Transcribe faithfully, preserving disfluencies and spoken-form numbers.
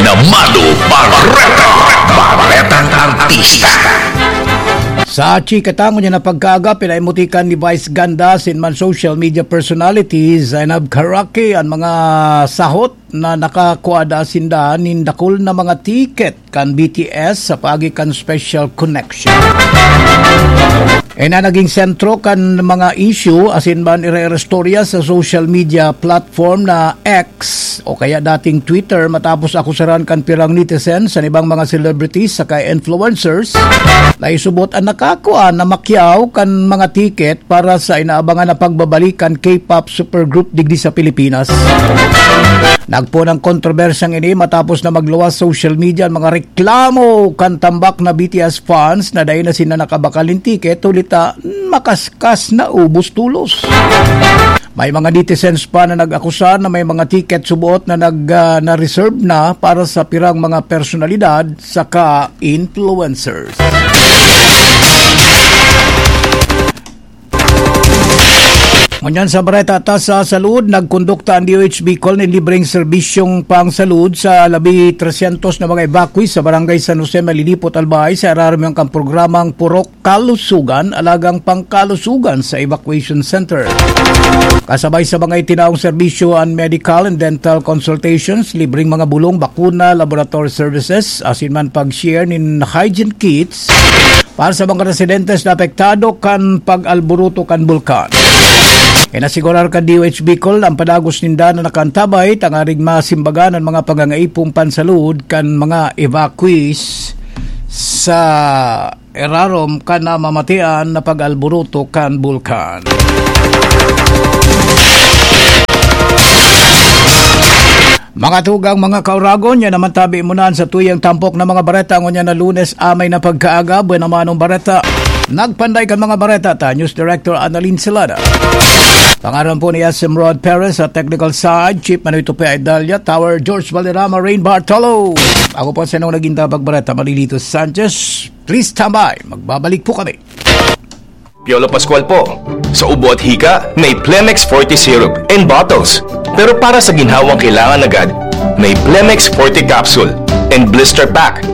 Namano Bareta, Baretang Artista. Sa chika ta ngunyan na pagkaaga, pinaimutikan ni Vice Ganda asin man social media personality Zainab Karaki an mga sahot na nakakua daa sinda nin dakul na mga tiket kan B T S sa paagi kan special connection. Ina naging sentro kan mga issue asin man ire-restorya sa social media platform na X o kaya dating Twitter matapos akusaran kan pirang netizens sa ibang mga celebrities saka influencers na isubot an nakakua na makyaw kan mga tiket para sa inaabangan na pagbabalik kan K-pop supergroup digdi sa Pilipinas. Nagpoon ang kontrobersyang ini matapos na magluwas social media ang mga reklamo kan tambak na B T S fans na dai na sinda nakabakal nin tiket huli ta makaskas na ubos tolos. May mga netizens pa na nag-akusar na may mga tiket suboot na nag, ah, na-reserve na para sa pirang mga personalidad saka influencers. Ngunyan sa bareta ta sa salud, nagkondukta ang D O H Bicol nin libreng serbisyong pangsalud sa labi tresyentos na mga evacuees sa Barangay San Jose, Malilipot, Albay, sa irarom kan programang Purok Kalusugan, Alagang Pangkalusugan sa Evacuation Center. Kasabay sa mga itinaong serbisyo, ang medical and dental consultations, libreng mga bulong, bakuna, laboratory services, asin man pag-share nin hygiene kits para sa mga residentes na apektado kan pag-alboroto kan bulkan. Inasigurar kan D O H Bicol ang padagos ninda na nakaantabay tanganing masimbagan ang mga pangangaipo pansalud kan mga evacuees sa irarom kan namamatian na pag-alboroto kan bulkan. Mga tugang, mga kauragon, yan naman tabi mo na sa tuyang tampok na mga bareta ngunyan na Lunes, amay na pagkaaga, buena manong bareta. Nagpanday kan mga bareta ta, News Director Annalyn Celada. Pangaran po ni S M Rod Perez sa technical side, Chief Manoy Tupi Idalia, Tower George Valderrama, Rain Bartolo. Ako po sa inyong naging tabagbareta, Manilito Sanchez. Please stand by. Magbabalik po kami. Piolo Pascual po. Sa ubo at hika, may Plemex Forte Syrup and bottles. Pero para sa ginhawang kailangan agad, may Plemex Forte Capsule and Blister Pack.